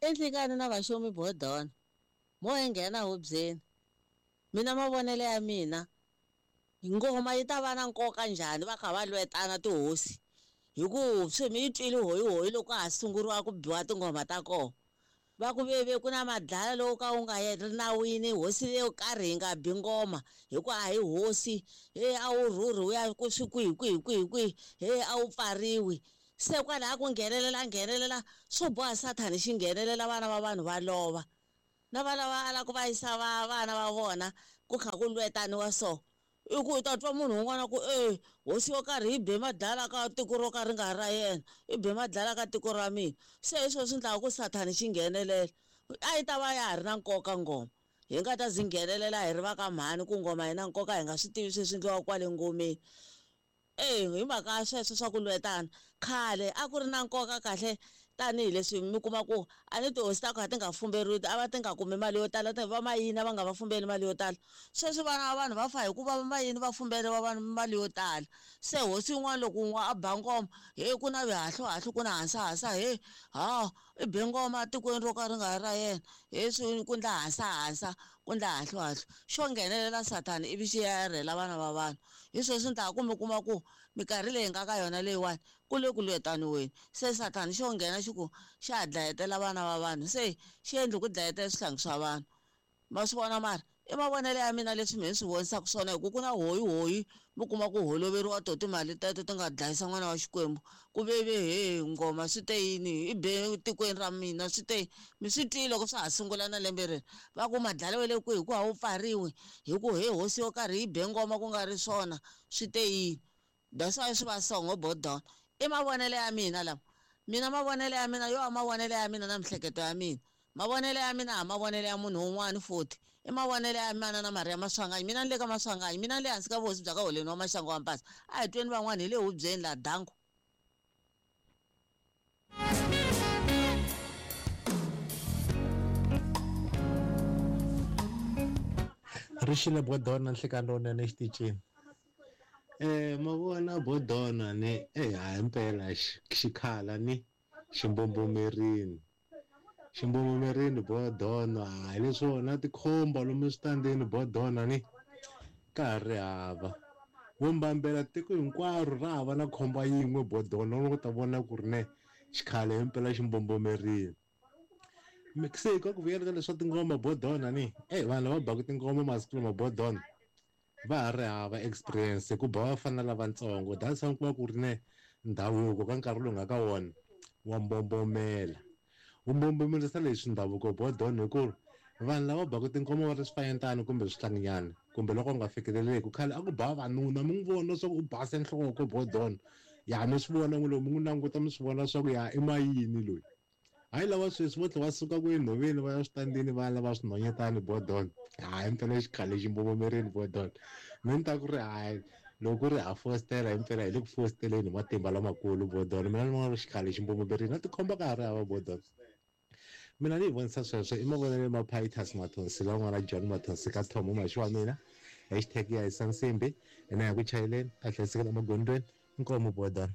Enhlikani na vaxomi bodona mo hi nghena hubyeni mina mavonelo ya mina ngoma yi ta va na nkoka njhani va kha va lwetana tihosi hi ku swi mi yi twile hoyihoyi loko ka ha sunguriwa ku biwa tinghoma ta kona va ku veve ku na madlala lowu ka wu nga ri nawini hosi leyo karhi yi nga bi ngoma hi ku a hi hosi he a wu rhurhi wu ya ku swi kwihi kwihi kwihi kwihi he a wu pfariwi se kwalaha ku nghenelela nghenelela swo boha sathani xi nghenelela vana va vanhu va lova na vana va ala ku va yisa va vana va vona ku kha ku lwetaniwa so i ku u ta twa munhu un'wana ku e hosi yo karhi yi be madlala ka tiko ro ka ri nga ra yena i be madlala ka tiko ra mina se hi swona swi endlaka ku sathani xi nghenelela a yi ta va ya ha ri na nkoka ngoma hi nga ta zi nghenelela hi ri va ka mhani ku ngoma yi na nkoka hi nga swi tivi sweswi endliwaka kwale ngomeni. E hi mhaka ya sweswo swa ku lwetana khale a ku ri na nkoka kahle tanihileswi mi kuma ku a ni tihosi ta ku a ti nga fumberiwi a va ti nga kumi mali yo tala va mayini a va nga va fumbeli mali yo tala sweswi vana va vanhu va fa hikuva va mayini va fumberiwa vanhu mali yo tala se hosi yin'wana loko un'we a ba ngoma he ku na vihahluhahlu ku na hasahasa he ha i be ngoma tikweni ro ka ri nga ra yena he swi ku ndla hasahasa ku ndla hahluhahlu xo nghenelela sathana ivi xi ya rhela vana va vanhu hi sweswi ni ta ku mi kuma ku minkarhi leyi nga ka yona leyiwani ku le ku lwetaniweni se sathana xo nghena xi ku xa ha dlayetela vana va vanhu se xi endli ku dlayetela swihlangi swa vanhu ma swi vona mara i mavonelo ya mina leswi mehe ni swi vonisaka swona hi ku ku na hoyihoyi mi kuma ku holoveriwa to timali teto ti nga dlayisa n'wana wa xikwembu ku veve he ngoma swi te yini i be tikweni ra mina swi te mi swi twile loko swa ha sungula na lembe leri va ku madlala wa le kwihi ku a wu pfariwi hi ku he hosi yo karhi yi be ngoma ku nga ri swona swi te yini that's why swi va songo bodona i mavonelo ya mina lama mina mavonelo ya mina yo a mavonelo ya mina na mihleketo ya mina mavonelo ya mina a mavonelo ya munhu un'wana futhi i mavonelo ya mana na Maria Maswanganyi mina ni le ka Maswanganyi mina ni le hansi ka vuhosi bya ka holeni wa Maxangu wa Mpasa a hi tweni van'wana hi le hubyeni la dangu. Ri xile bodona nhlikani lowunene exitichini. Ma vona bodona ni eh hayi mpela xikhala ni ximbombomerini ximbombomerini bodona hayi leswona tikhomba lomu switandini bodona ni ka ha ri hava vumbambela tiko hinkwaro ra hava na khomba yin'we bodona u ta vona ku ri ne xikhale himpela ximbombomerini se ka ku vuyela ka leswa tingoma bodona ni e vanhu lava baka tingoma masiku lama bodona va ha ri hava experience ku ba vafana lavatsongo that's why ku va ku ri ne ndhavuko ka nkarhi lowu nga ka wona wa mbombomela wu mbombomerisa leswi ndhavuko bodona hi ku vanhu lava baka tingoma va ri swifanyetana kumbe swihlanginyana kumbe loko u nga fikeleleki khale a ku ba vavanuna mi n'wi vona swa ku u base nhloko bodona ya mi swi vona n'wi loyi mi n'wi languta mi swi vona swa ku ya i mayini loyi hayi lava sweswi vo tlhe va suka ku enhoveni va ya switandini va lava swinhwanyetani bodon hayi mpela xikhale xi mbombomerini bodon mi ni ta ku ri hayi loko ku ri ha fostela himpela hi le ku fosteleni hi matimba lamakulu bodon mina ni vona ri xikhale xi mbombomerini na tikhomba ka ha ri hava bodon mina ni yi vonisa sweswo i mavonelo ma Pitus Mathonsi la n'wana John Mathonsi ka Thomo maxi wa mina hashtag ya hisa nsimbi ene ya ku chayeleni a hlayisekela emagondzweni inkomu bodon.